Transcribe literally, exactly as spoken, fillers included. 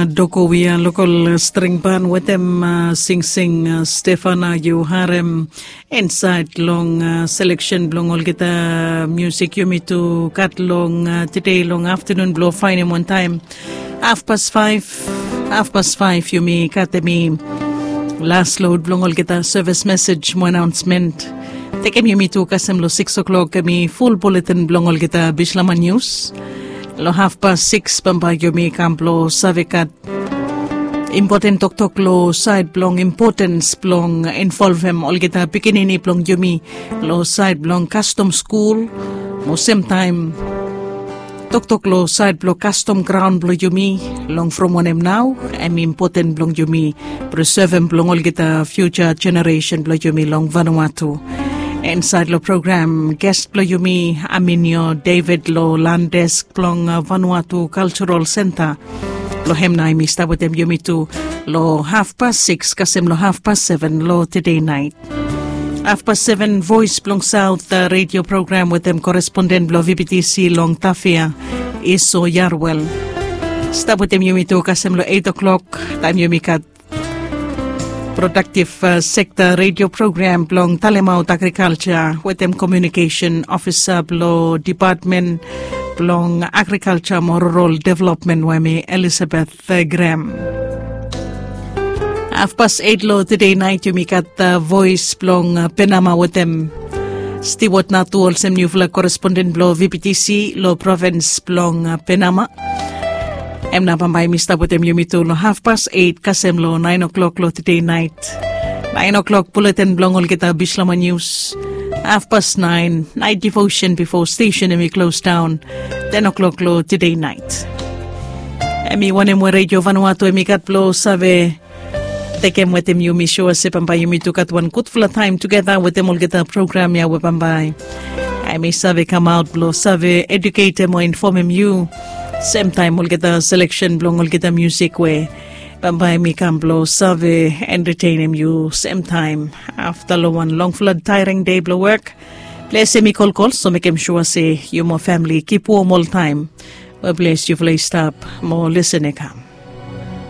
Dokowia lokol string ban wetem singsing Stefana yu harem. Insait long seleksen blong olgeta musik yumi tu gat long tede long aftanun blong faenem wantaem. Hafpas faef, hafpas faef yumi gat em i las lod blong olgeta sevis mesej mo anaonsmen. Tekem yumi tu kasem long sikis oklok em i ful buletin blong olgeta bislama nius. Long hafpas sikis bambae yumi kam blong save gat impoten toktok long sait blong impotens blong involvem olgeta pikinini blong yumi long sait blong kastom skul. Mo semtaem toktok long sait blong kastom graon blong yumi long from wanem nao em impoten blong yumi presevem blong olgeta fiuja jeneresen blong yumi long Vanuatu. Insait long program ges blong yumi Aminio David long landes blong Vanuatu Cultural Center. Long hem nao em i stap wetem yumi tu long hafpas sikis kasem long hafpas seven long tede nait. Hafpas seven Voes blong Saot redio program wetem koresponden blong VBTC long Tafea, Iso Yarwel. Stap wetem yumi tu kasem long eit oklok taem yumi gat prodaktiv sekta redio program blong talemaot agrikalja wetem komiunikesen ofisa blong dipatmen blong agrikalja mo rural developmen we hem i Elisabeth Grem. Hafpas eit long tede nait yumi gat voes blong Penama wetem Stiwot Natu olsem niufala koresponden blong VBTC long provins blong Penama. Em nao bambae mi stap wetem yumi tu long hafpas eit kasem long naen oklok long tede nait. Naen oklok buletin blong olgeta bislama nius. Hafpas naen naet divosen bifo stesen em i klos daon ten oklok long tede nait. Em i wanem we redio Vanuatu em i gat blong save tekem wetem yumi sua se bambae yumi tu gat wan gudfala taem tugeta wetem olgeta program ya we bambae em i save kamaot blong save eduketem o infomem yu. Semtaem olgeta seleksen blong olgeta musik we bambae mi kam blong save entetenem yu semtaem afta long wan longfala taering dei blong wok. Ples em i kolkol so mekem sua se yu mo famili kip wom oltaem. We ples yufala i stap mo lesen i kam.